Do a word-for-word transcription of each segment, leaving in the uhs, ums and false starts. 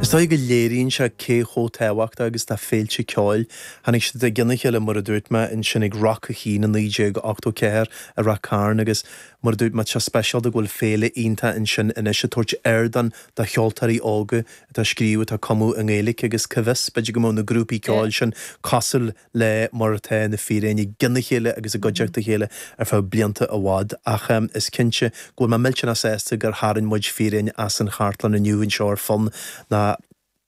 Is dóigh go léiríonn sé cé chomh tábhachtach agus tá féilte ceoil. Tháinig siad i gcionn a chéile mar a dúirt mé ansin ag Rock a haon i naoi déag ochtó ceathair i Ráth Cairn agus mar a dúirt mé tá speisialta go bhfuil féile iontach ansin anois ag tabhairt ardán do cheoltóirí óga atá scríobh atá cumadh i nGaeilge agus cá bhfios b'fhéidir go mbeadh na grúpaí ceoil sin cosúil le mar atá na Fíréin i gcionn a chéile agus i gcuideachta a chéile ar feadh blianta i bhfad ach is cinnte go bhfuil mé millteanach sásta gur tharraing muid Fíréin as an chartlann inniu anseo ar Fonn ná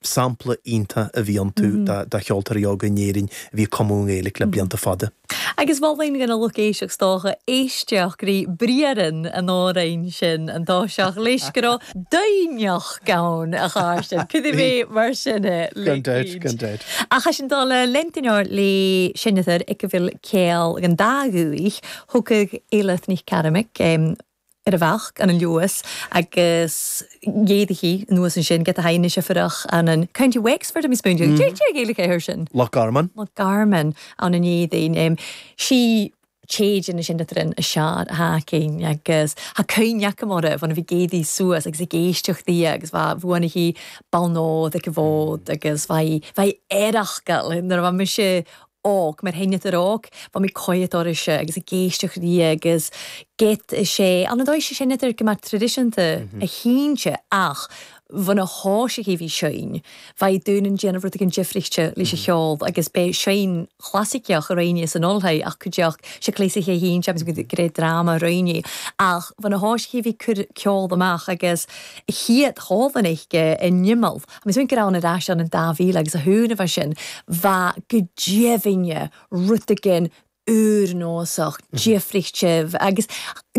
sampla iontach a bhí iontu do cheoltóirí óga in Éirinn a bhí ag cumadh i nGaeilge le blianta fada. Agus mholfainn do na lucht éisteachta is dócha éisteacht rí briathrann an amhráin sin an dá-seach leis go raibh doimhneach gann a chairt Cad é mar sin é Gan dabht, gan dabht. Ach sin dul le lentinor le sinnetar ag go bhfuil céal an dá dhúich thugadh Éileath Ní Cearmaic ar a bhealach an an Luas agus dhéadaí anuas ansin get a haine se furach an an County Wexford a mis spún Dé gaeilge sin. Loch Garman. Loch Garman an an éadain. Sí téidir na sin an a sear hacin agus ha cuineach mar bhna bhí géadaí suas agus ag éisteachtaí agus bha bhuaana hí ballnód ag bhód agus bhaid bhaid éireachcha nuair a bha mise óg mar héine ar óg, Bha mé coiad se agus ag éisteacht rí agus get sé an dóigh sé sin idir go mar traidisiúnta a shínte ach bhna na háise bhí sein, Bheidh dún an déanamh rud an difrichte leis a cheol agus bé sein chlasaiceach a réine san oltha ach cuideach sé clésa sé hín agus gré drama réine ach bhna na háise bhí cur ceol amach agus chiad hálan eiche in nimmal. Agus go an ar an an dá mhíle agus a thuúna bheit sin bha go deimhinne rud éigin úrnósach, difrichteh agus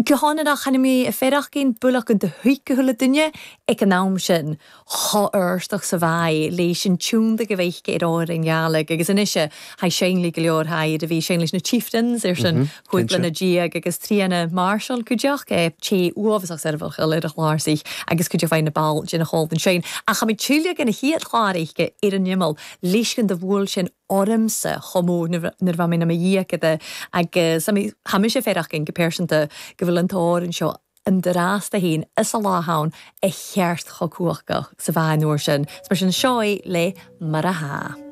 go háirithe chana mé a féach cén buach an de thuicehulle duine ag an am sin choirsteach sa bhaid léis an tiúnda go bhéich ar áir an ghealaigh agus inise ha séle go leor haid a bhí sé leis na Chieftains ar sin chuig lena diaag agus tríana Marshall cuideach é té uafásach servach ar a chláirsaich agus cuideach fein na ball gin a an sein. Ach cha mé tuile gan a chiad chláiriche ar an nimmal leiscan de bhfuil sin ormsa chomó nuair bha mé na dhíachada agus ha sé féach go pearsanta go bhfuil an t-amhrán seo an drásta hín is a láháin a cheart chocuachcha sa bhean nuair sin, Mar sin seo le mar a há.